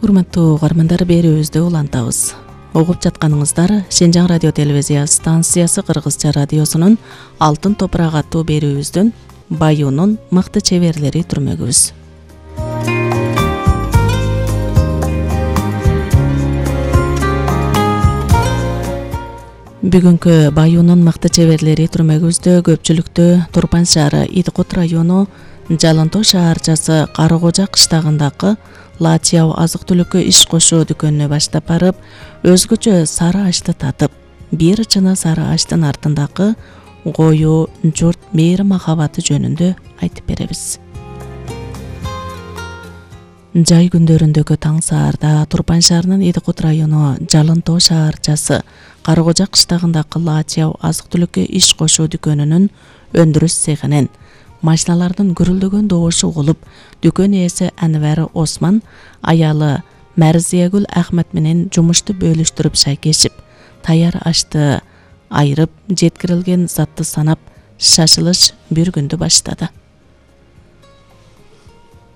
Урматтуу угармандар, берүүбүздү улантабыз. Угуп жатканыңыздар Шенжаң радио телевизия станциясы Кыргызча радиосунун Алтын топурак аттуу берүүбүздүн Баюунун мыкты чеберлери түрмөгүбүз. Бүгүнкү Баюунун мыкты чеберлери түрмөгүбүздө көпчүлүктү Турпан шаары Идикут району Жалынтоо шаарчасы Каракожа кыштагындагы Латияу азык-түлүккө иш кошуу дүкөнүнө баштап барып, өзгөчө сары ашты татып, бир чыны сары аштын артындагы коюу журт мээри махабаты жөнүндө айтып беребиз. Жай күндөрүндөгү таң саарда Турпан шаарынын Идикут району Жалынтоо шаарчасы Каракожа кыштагындагы Латияу азык-түлүккө иш кошуу дүкөнүнүн өндүрүш цехинен машиналардын гүрүлдөгөн добушу угулуп, дүкөн ээси Анвар Осман аялы Мәрзиягүл Ахмет менен жумушту бөлүштүрүп шайкешип, таяр ашты айырып, жеткирилген затты санап, шашылыш бир күндү баштады.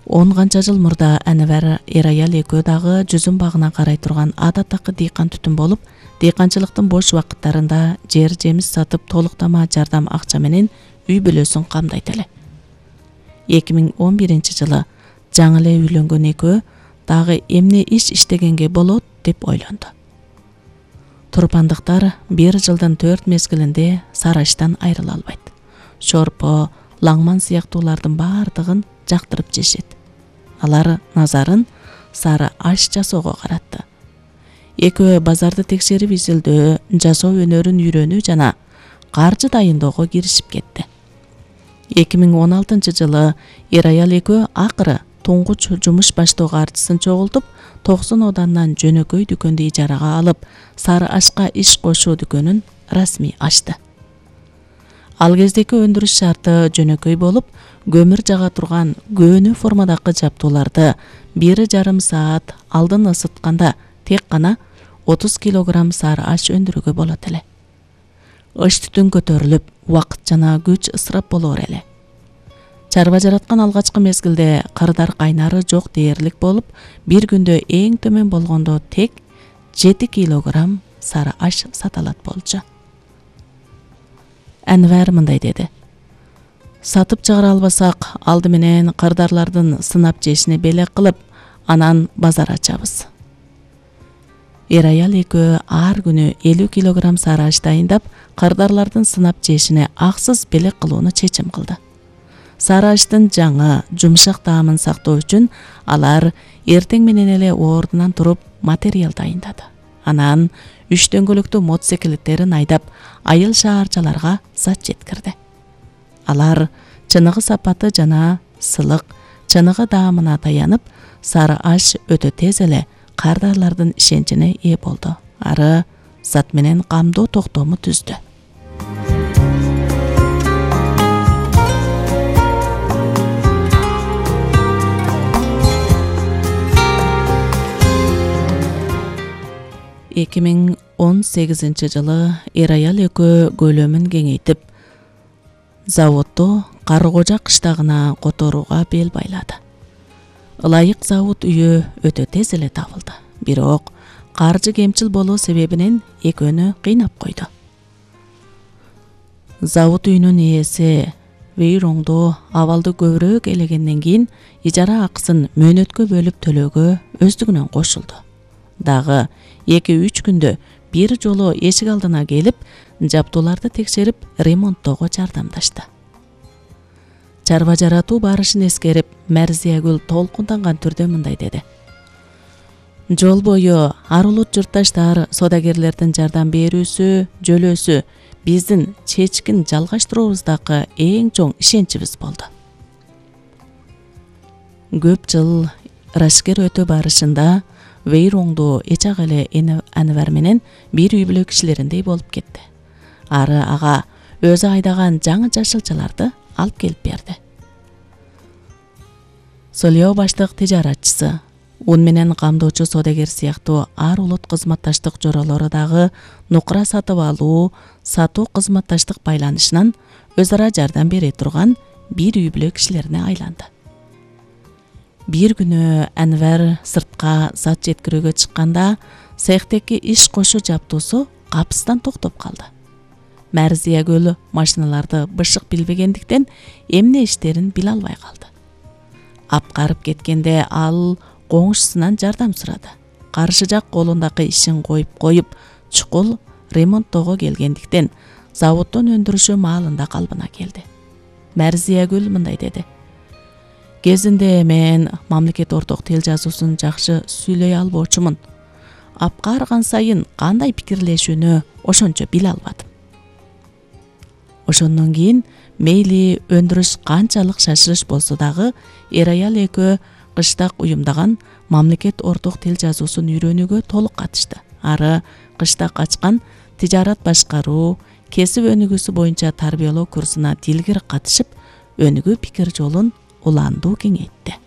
10 канча жыл мурда Анвар аял экөө дагы жүзүм багына карай турган адаттагы дыйкан түтүн болуп, дыйканчылыктын бош убакыттарында жер жемис сатып, толуктама жардам акча менен үй бүлөсүн камдайт эле. 2011 жылы жаңы эле үйлөнгөн экөө дагы эмне иш иштегенге болот деп ойлонду. Турпандыктар бир жылдын 4 мезгилинде сары аштан айрыла албайт. Шорпо, лаңман сыяктуулардын бардыгын жактырып жешет. Алар назарын сары аш жасоого каратты. Экөө базарды текшерип изилдөө, жасоо өнөрүн үйрөнүү жана каржы дайындоого киришип кетти. 2016 жылы аял экөө акыры туңгуч жумуш баштоо каржысын чогултуп, 90 одандан жөнөкөй дүкөндү ижарага алып, сары ашка иш кошуу дүкөнүн расмий ачты. Ал кездеки өндүрүш шарты жөнөкөй болуп, көмүр жага турган көөнү формадагы жаптууларды 1,5 саат алдын ысытканда тек гана 30 килограмм сары аш өндүрүүгө болот эле. Ыш түтүн көтөрүлүп, убакыт жана күч ысырап болоор эле. Чарба жараткан алгачкы мезгилде кырдар кайнары жок дээрлик болуп, бир күндө эң төмөн болгондо тек 7 килограмм сары аш саталат болчу. Анвар мындай деди: сатып чыгара албасак, алды менен кырдарлардын сынап жешине белек кылып, анан базар ачабыз. Аял экөө ар күнү 50 килограмм сары аш дайындап, кырдарлардын сынап жешине аксыз белек кылууну чечим кылды. Сары аштын жаңы, жумшак таамын сактоо үчүн алар эртең менен эле ордунан туруп материал дайындады. Анан 3 дөңгөлөктүү мотоциклеттерин айдап, айыл шаарчаларга зат жеткирди. Алар чыныгы сапаты жана сылык, чыныгы даамына таянып, сары аш өтө тез эле кардарлардын ишеничине ээ болду. Ары зат менен камдоо токтому түздү. Эки миң 18 жылы аял экөө көлөмүн кеңейтип, заводду Каракожа кыштагына которууга бел байлады. Ылайык завод үйү өтө тез эле табылды. Бирок каржы кемчил болуу себебинен экөөнү кыйнап койду. Завод үйүнүн ээси Вейроңдо абалды көбүрөөк элегенден кийин ижара акысын мөөнөткө бөлүп төлөөгө өздүгүнөн кошулду. Дагы 2-3 күндө бир жолу эшик алдына келип, жаптууларды текшерип, ремонттоого жардамдашты. Чарба жаратуу барышын эскерип, Мәрзиягүл толкунданган түрдө мындай деди: жол бою ар улут журтташтар, содагерлердин жардам берүүсү, жөлөөсү биздин чечкин жалгаштырууубуздагы эң чоң ишеничибиз болду. Көп жыл рашкер өтө барышында Вейроңдо эчак эле Анвар менен бир үй бүлө кишилериндей болуп кетти. Ары ага өзү айдаган жаңы жашылчаларды алып келип берди. Солео баштык тижаратчысы, ун менен камдоочу содагер сыяктуу ар улут кызматташтык жоролору дагы нукура сатып алуу, сатуу кызматташтык байланышынан өз ара жардам бере турган бир үй бүлө кишилерине айланды. Бир күнү Анвар сыртка зат жеткирүүгө чыкканда цехтеки иш кошуу жабдуусу капыстан токтоп калды. Мәрзия көлү машиналарды бышык билбегендиктен эмне иштерин биле албай калды. Апкарып кеткенде ал коңшусунан жардам сурады. Каршы жак колундагы ишин коюп чукул ремонттоого келгендиктен заводдон өндүрүшү маалында калбына келди. Мәрзия гүл мындай деди: Кезинде мен мамлекет орток тил жазуусун жакшы сүйлөй албоочумун. Апкарган сайын кандай пикирлешүүнү ошончо биле албадым. Ошондон кийин мейли өндүрүш канчалык шашырыш болсо дагы эр-аял экөө кыштак уюмдаган мамлекет орток тил жазуусун үйрөнүүгө толук катышты. Ары кыштак ачкан тижарат башкаруу, кесип өнүгүүсү боюнча тарбиялоо курсуна дилгир катышып, өнүгүү пикир жолун улаандуу кеңейтти.